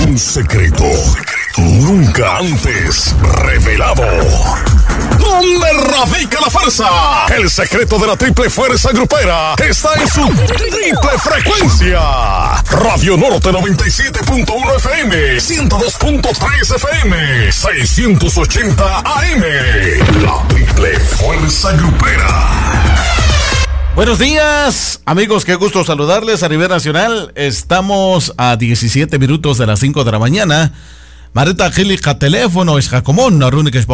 Un secreto nunca antes revelado. ¿Dónde radica la fuerza? El secreto de la triple fuerza grupera está en su triple frecuencia. Radio Norte 97.1 FM, 102.3 FM, 680 AM. La triple fuerza grupera. Buenos días, amigos, qué gusto saludarles a nivel nacional. Estamos a 17 minutos de las 5 de la mañana. Mareta Gilica teléfono es Jacomón, Narune que es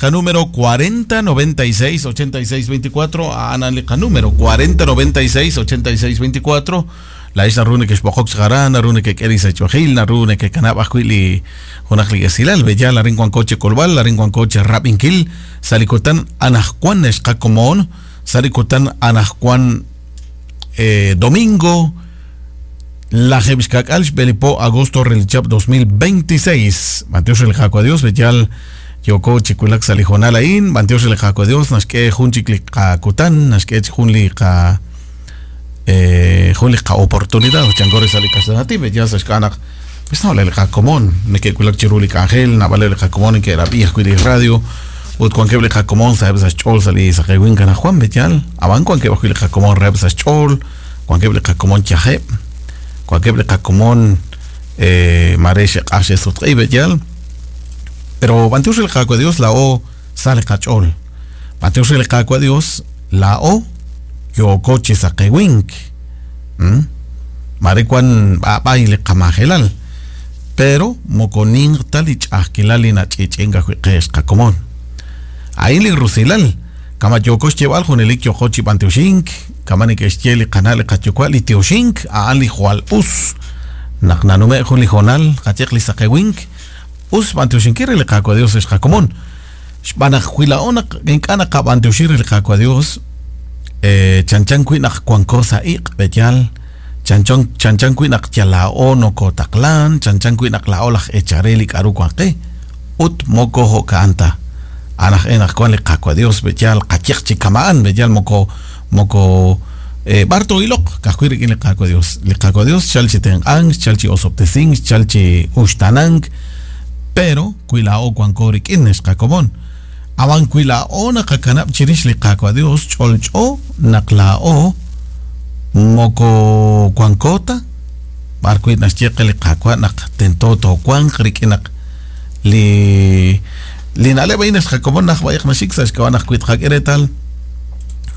número 4096 8624, Ana número 4096 8624. La isla rune que es Bojox Garana, rune que queris Echojil, rune que Canabajuili, Jonajli Esilal, Bella, la Ringuancoche Colval, la Ringuancoche Rapinkil, Salicotan Anajcuan es Jacomón. Sarikutan Anajcuan domingo la Jebishkakal Belipo agosto relichap 2026 Mateos el Jaco Dios Beyal Yoko Chikulak Salijonal Ain Mateos el Jaco Dios Nashke Junchikli Kakutan Nashke Junli Ka Junli Ka oportunidad Changore Salikasanati Beyal Sashkanak pues no le Jacomón me que Kulak Chiruli Angel Navale el Jacomón que era viejo y radio ut cuan que jacomón sabes a chol sali sa que winkan Juan Betial aban cuan que bajo jacomón rebs a chol cuan que jacomón chaje cuan que jacomón maresh ashe sutri betial pero bantius el jaco Dios la o sale cachol bantius el jaco Dios la o yo coche sa que wink mare cuan baile kamajelal pero moconin talich ajquilalina chichenga jueques jacomón ahí le rusilal kama yokos lleval junelik yokochi panteoshink kama ni que canal kachocual y teoshink a ali jual us naknanume juli jonal kachekli sakewink us panteoshinkiri le kako Dios es jakomón xbanajuilaona inkana kapanteoshiri le kako Dios chanchan kuinak cuancosa ik betial chanchan chanchan kuinak yalaono kotaklan chanchan kuinak laolaj echarelik arukuanque ut mokojo kanta anaj enaj kuan le kako Dios betial kachekchi kamaan betial moko moko barto ilok kajuir le kako Dios le kako Dios chalchi tenang chalchi osoptesing chalchi ushtanang pero kuilao kuan korik ines kakomon awan kuilao nakakanap chirish le kako Dios cholcho naklao moko kuankota barkuit naschieque le kako nak tentoto kuan krikinak li linale baines jacomón nak bayaq nashik saxkawanaj kuitjak eretal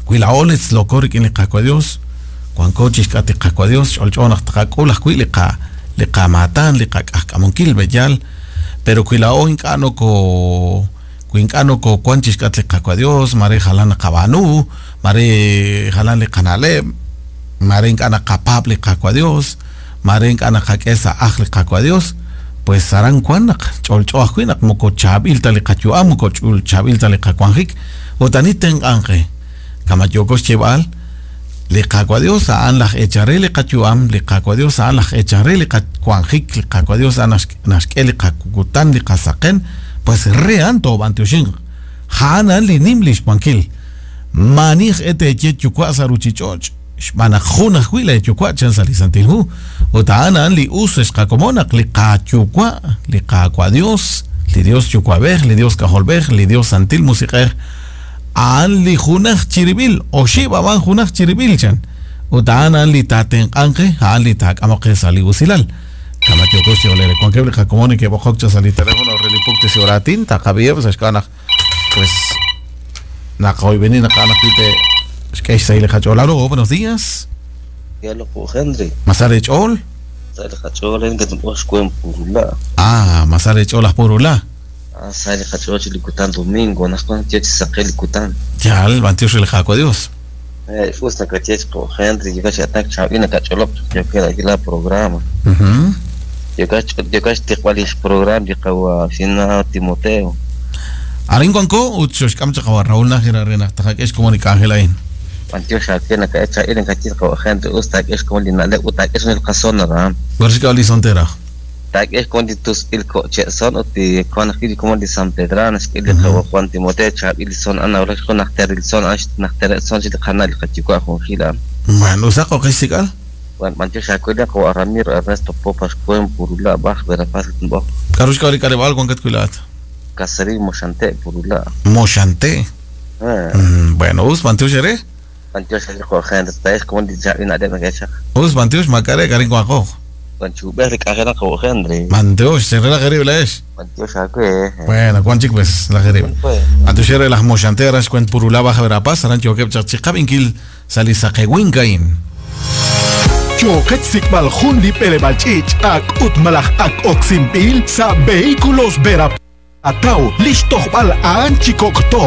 kuilaoles lokorik in liqako Dios kuankochix kati qako Dios xolch'onaj tqak'ulaj kui liqa liqamatan liqak'ajk'amonkil beyal pero kuilao ink'ano ko kuink'ano ko kuanchix kat liqako Dios mare jalan qabanu mare jalan liqanale mare ink'ana qapap liqako Dios mare ink'ana qak'esa aj liqako Dios pues saran kuanak cholchoaj kuinak moko chabil taliqayuam moko chul chabil taliqakuanjik otani tenqanqe kamayokos chebal liqakua Dios aan laj echaré liqayuam liqakua Dios aan laj echaré liqakuanjik liqakua Dios aan naxk'e liqakukutan liqasaqen pues rean tobanteoxin ja'anan linim lixkuankil manij ete yechukua saruchichoch xb'anaq jun ajwi' la yukua chan salisantilhu uta'anan li us xqakomonaq li qachukua li qakua Dios li Dios yukuabej li Dios kajolbej li Dios santil musiqej aan li junaj chiribil oxib aban junaj chiribil chan uta'anan li tatenqanqe aan li tak'amoqe sali usilal kamatyokos yolere kuankeble jakomoni que bojokcha sali teléfono relipukte sioratin taqabiyeb saxkanaj pues naqoybeni naqanajpite Hola, buenos días. Henry. Masare chol. Ah, Masare chol purula. Ah, sale chol likutan domingo, nas con tech saqel likutan. Ya, el bantio el jaco Dios. Usta kachech ko Henry, yo kacha tak chabina kacholop, yo queda aquí la programa. Yo kacha tiqwalish programa diqawa sina Timoteo. Arin cuanco utxox kamcha qawa Raúl Nájera rena tajak comunica Ángel ain. Antiocha que kacha irin kachit qawa gente usta es como linale uta es el casona ra. Gorshka oli sontera. Tak es con tus il coche son uti con aquí como de San Pedro es que le qawa Juan Timoteo chabil son ana ora con nachter son ash nachter son chit canal kachikwa con gila. Bueno, usaqo qisikal. B'antiox aawe qawa' Ramiro Ernesto Popas Cuen Purula Baj Verapaz Boj. K'aru xk'ab'a li k'aleb'aal wankat wi' laa'at? Caserío Moxante Purula. Moxante. Bueno, us b'antiox eere. B'antiox li qawa' Henry taex komon li chaab'il na'leb' nakechaq. Us b'antiox maak'a' re k'arin wanqo. B'antiox li k'anjelaq qawa' Henry. B'antiox cherelaq eerib' laa'ex. B'antiox aawe. Bueno, wan chik pues laj eerib'. B'antiox eere laj Moxante aran xwent Purula Baja Verapaz aran yookeb' chaq chi qab'inkil sa' li saqewink a'in. Yooqet xsik'b'al jun li b'eleb'aal ch'iich' ak ut malaj ak oksinb'il sa' Vehículos Vera Ataw li xtojb'al a'an chi kok' to.